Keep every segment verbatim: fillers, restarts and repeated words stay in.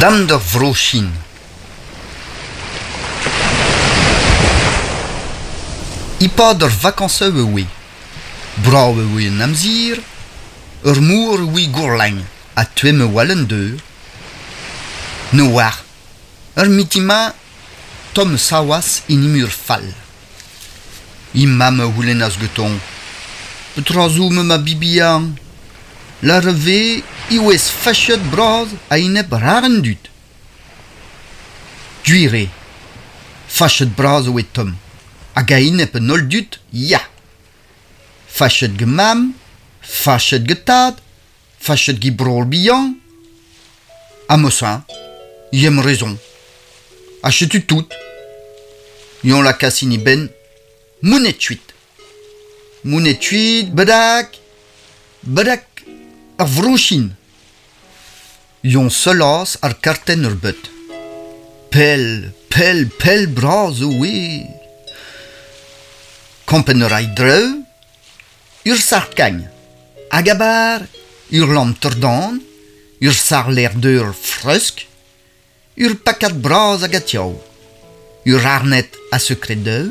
Dam d'ur vro-Chin. E-pad ur vakañsoù e oe. Brav e oe an amzer, ur mor e oe gourlagn ha toemm a-walc'h an deur. Ne oar, ur mitin-mañ tomm saoas en imur fall. He mamm a c'houlennas gantañ Petra zo ma ma bibihan ? Lâret e vez e oas fachet bras a-enep rar an dud. Gwir eo, fachet bras e oa tomm, hag a-enep an holl dud, ya. Fachet gant mamm, fachet gant tad, fachet gant breur bihan. Ha ma-señ, em rezon. Ha setu tout. Eñ lakaas en e benn monet kuit. Monet kuit, bedak, bedak ar vro-Chin. Eñ sellas ar kartenn ur beut. Pell, pell, pell bras e oe. Kompren a ray drev, ur sac'h-kagn, hag a-bar, ur lamp-tordan, ur sac'h-lêr-deur fresk, ur pakad bras hag atiav, ur arned a sekred-deur,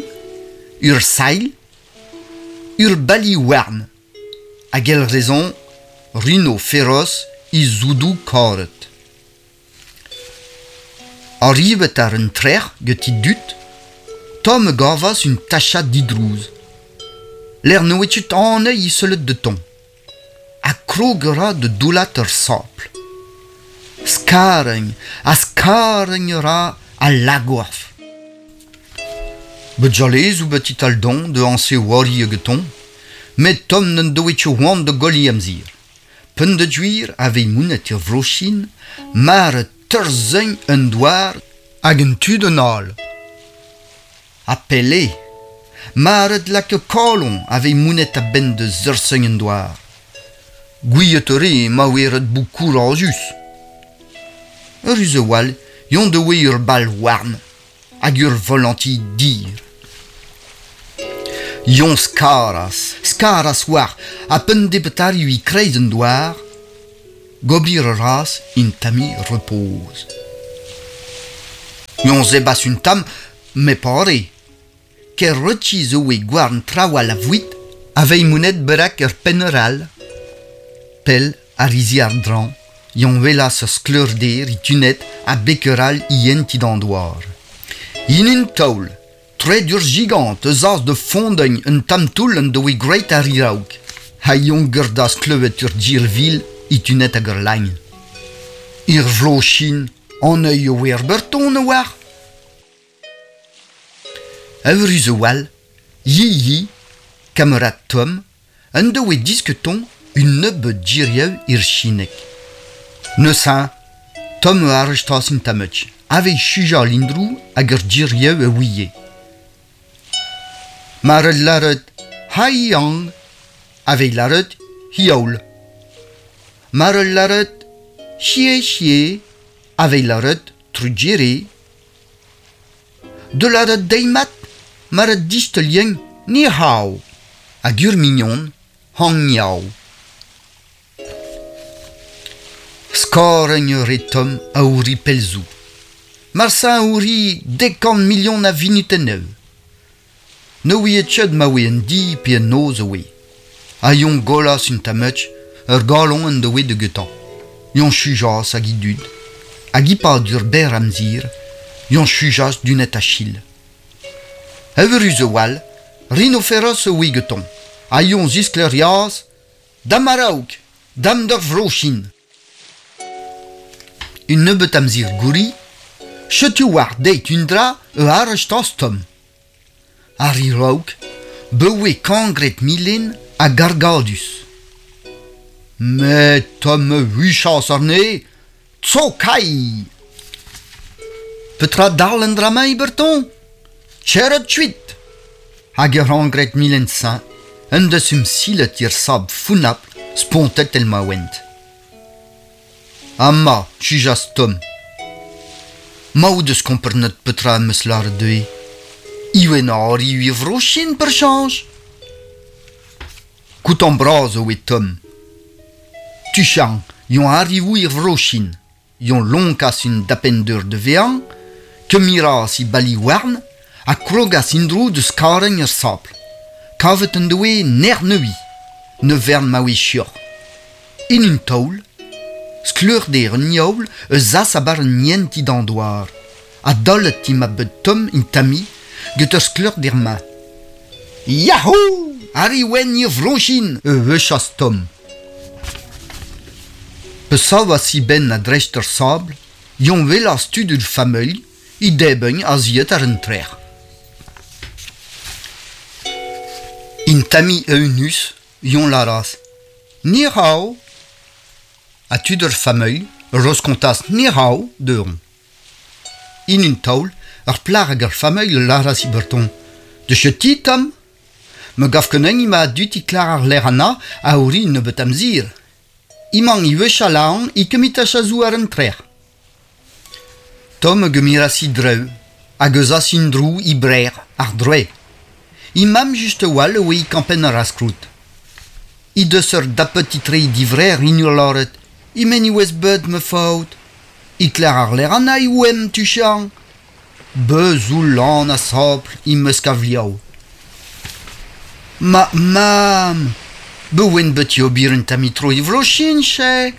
ur sailh, ur bali houarn, hag el rezon Rino Feroz e zoudoù karet. Arrivet ar un trec'h gant e dud, Tom a gavas un tachad didrouz. Lec'h ne oa ket anezhi sellet da Tom. Ha krog a ra da doullat ur sabl. Skarenn ha skarenn a ra al lagorf. Bet jalez out bet e-tal dont da añse oari hag Tom, met Tom n'en doe ket c'hoant da goll e amzer. Peogwir a vez monet er Vro-Chin mar teurzeñ un douar hag un tu d'un all. Ha pell eo, mar lak kalon a vez monet a-benn da zeurzeñ un douar. Gouiet a re ma oa ret bout kourazus. Eürus a-walc'h eñ doe ur bal houarn hag ur volanti dir. Eñ skaras, skaras war ha p'en debetarioù e-kreiz an douar, gober a ras un tammig repoz. Eñ zebas un tamm, met pare. Ker retis zo e gouarn trawal a voued a vez monet berak ur penner all. Pell a rizi ar drañ, eñ welas ur skleurder e tunet ha beker all ient d'an douar. En un taol, treid ur gigant eus az da fondeñ un tamm toull en doe graet ar raok. Ha eñ gerdas klevet ur dir vil e tunet hag ur lagn. Ur vro-Chin, an eo oa er berton a oar. Eürus a-walc'h, Yi-Yi, kamarad Tom, en doe disketon un nebeud dirioù er Chineg. Neuze, Tom a arrestas un tammig, aveit sujañ lindroù hag ur dirioù a ouie. Mar lâret Hai Yang, aveit lâret Hioul. Mar lâret Xie Xie, aveit lâret Trujere. De lâret deimat, mar distelien Ni hao, hag ur mignon Hang Yao. Skarenn ur Tom a ouri pellzoù. Marsa a ouri dek kant milion a vinutennoù. Ne ouie ket ma oe un di pe un noz a oe. Ha eñ gollas un tammig, ur galon en doe da getañ. Eñ sujas hag e dud. Hag e-pad ur berr amzer, eñ sujas dunet a-chil. Eürus a-walc'h, Rhinoferos a oe gantañ. Ha eñ zisklêrias Dam a-raok, dam d'ur Vro-Chin. Un nebeud amzer gouri, setu war deit un dra e arrestas Tom. Ar raok, bewe kangret milen ha gargadus. Met Tom a huchas arne, Tso kai! Petra dal an dra-mañ Berton ? Tcheret kuit ! Hag ur angret milen sañ, un deus um silet ir sab founapl spontet el ma oent. Amañ, sujas Tom. Ma out deus komprenet petra am eus lâret dezhe. Iwen ar iwe vro-Chin per chañj. Koutant bras e oe Tom. Tuchant, eñ arrivo er Vro-Chin. Yon lonkas un dapender de vean, kemiras i bali warn, a krogas indro de skaren ur sapl. Kavet en doe ner neui, ne vern ma oe chior. In un taol, skleur der un yaoul eus as a bar un nien ti d'andoar, a dollet ti ma bet tom in tami, get ur skleur der ma. Yahoo! Ari wen ir vronchin, e vechas Tom. Pesav a si ben a dreist ur sabl, yon welas tud ur fameuil, i deben a ziet ar un trer. In tami eunus, yon laras. Ni hao! A tud ur fameuil, roskontas ni hao deuron. In un taol, ur plar hag ur fameuil laras i berton. De cheti, Tom? Me gaf ken ma dut i klar ar ler ana a ori nebeut amzir. Imang i wech a laon i kemit a chazou ar un trer. Tom gemiras i dreu, hag eus as in drou i brer, ar droe. I mam just wal oe i kampen ar askrout. I deus ur dapet i tre i divrer in ur loret. I men i oez beud me faot. I kler ar ler ana i oem tuchan. Beuz ou lan a sapl i meus kavliao. Ma mam! Be oen bet i obir un tamitro i vrochin, che!